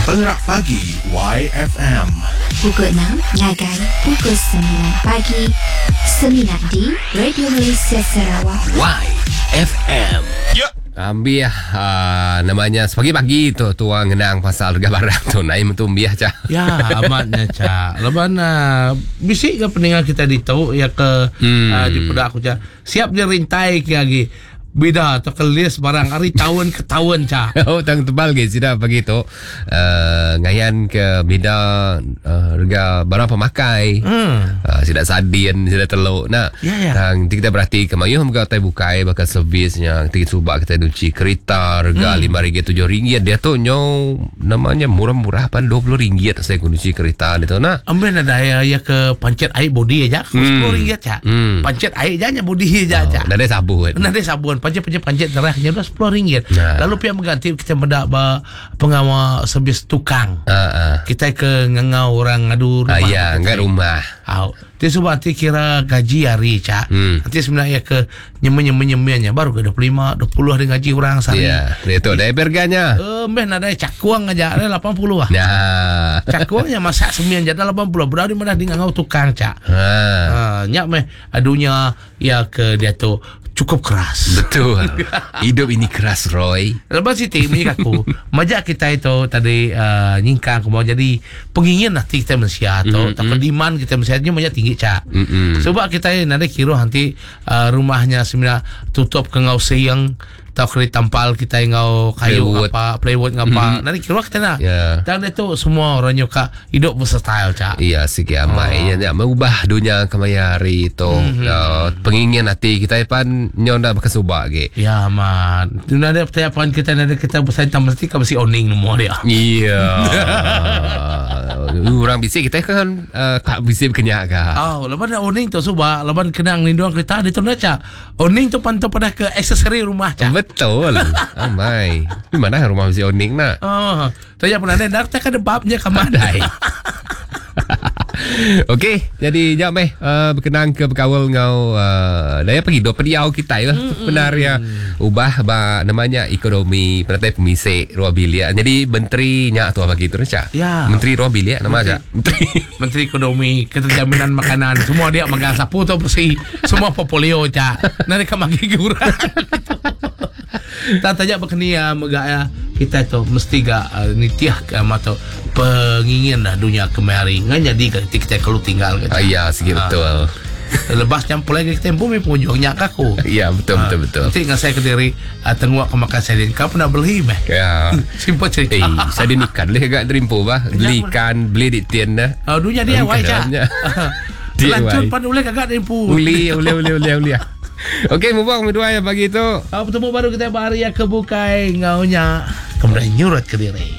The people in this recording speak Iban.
Pengerak Pagi YFM. Pukul 6 ngagai pukul 9 pagi. Semina di Radio Malaysia Sarawak. YFM. Ya. Ambih uh, namanya sepagi-pagi tu tua ngenang pasal harga barang tu naik mentu ambih cah. Ya, amatnya cak. Leban uh, bisi ke peninggal kita ditu ya ke hmm. uh, di peda aku cak. Siap dia rintai ke lagi. Bida atau ke list barang hari tahun ke tahun cak. Oh, tang tebal ke sida pagi tu uh, ngayan ke bida uh, harga barang pemakai. Hmm. Sida sardin, sida teluk nak. Ya, ya. Tang nanti kita berhati ke mayuh mega utai bukai bakal servisnya. Nanti subak kita nyuci kereta harga RM5 RM7 dia tu nyo namanya murah-murah pan RM20 saya guna nyuci kereta dia tu nak. Ambil ada ya, ya ke pancet air body aja. Hmm. RM10 cak. Pancet air aja nya body aja cak. Oh, dah ada sabun. Nah, ada sabun pancet-pancet pancet terahnya dah RM10. Nah. Lalu pihak mengganti kita mendak ba pengawal servis tukang. Ah, ah. Kita ke ngangau orang ngadu rumah. Ah, ya, kita. enggak rumah. Au. Dia sebab nanti kira gaji hari cak. Nanti sebenarnya ke nyeme-nyeme-nyemenya baru ke 25, 20 ada gaji orang sehari. Ya, dia tu dah harganya. Eh, meh nadai cakuang aja ada 80 ah. Nah. Cakuangnya masak semian jadi 80. Berada di mana di ngangau tukang cak. Ha. Ha, nyak meh adunya ya ke dia tu cukup keras. Betul. Hidup ini keras, Roy. Lepas Siti bunyi aku Majak kita itu tadi uh, nyingkang aku mau jadi pengingin nanti kita manusia atau mm-hmm. demand kita manusia ni banyak tinggi cak. Mm-mm. Sebab kita ni nanti kira nanti uh, rumahnya sebenarnya tutup ke ngau siang atau kena tampal kita ngau kayu Plywood. apa plywood ngapa. Mm-hmm. Nanti kira kita nak. Ya. Dan itu semua orang nyuka hidup versatile cak. Iya sih kiamai oh. ya, mengubah dunia kemaya hari itu. Mm-hmm. Pengingin hati kita pan nyo ndak berkesubak ke. Ya man. Tu ada pertanyaan kita nanti kita bersaing tambah mesti kau mesti owning semua dia. Iya. Orang bisik kita kan uh, kak bisik kenyak kah. Oh, lepas nak owning tu sebab lepas kena ngelindung kereta dia tu nak cak. Owning tu pantau pada ke aksesori rumah cak. Betul. Oh my. Di mana rumah bisik owning nak? Oh, tanya pernah ada dak tak ada babnya ke mana. Pandai. Okey, jadi jap meh berkenaan ke berkawal ngau daya pergi do pediau kita lah benar ya. Ubah ba namanya ekonomi penatai pemisik ruang bilik. Jadi menteri nya tu bagi tu cak. Ya. Menteri ruang bilik nama cak. Menteri. Menteri Ekonomi, Keterjaminan Makanan, semua dia makan sapu tu bersih, semua portfolio cak. Nanti kamu magi kurang. Tak tanya berkeni ya megak ya kita tu mesti gak uh, nitiah ke atau pengingin dah dunia kemari. Ngan jadi ketika kita kalau tinggal ke. Ah, ya, sikit Ah. betul. Lepas nyampur lagi kita bumi pengunjungnya kaku. Ya, betul betul betul. Nanti dengan saya ke diri uh, tenguak ke makan sardin. Kau pernah beli meh? Ya. Simple cerita. Eh, saya dia ikan leh agak terimpu bah. Beli ikan, beli di tian dah. Oh, dunia dia Ikan wai cak. dalamnya. DIY. Lanjut pan uleh kagak terimpu. Uli, uli, uli, uli, uli. Okey, mubang berdua ya pagi tu. Ah, bertemu baru kita hari yang kebukai ngaunya. Kemudian nyurat ke diri.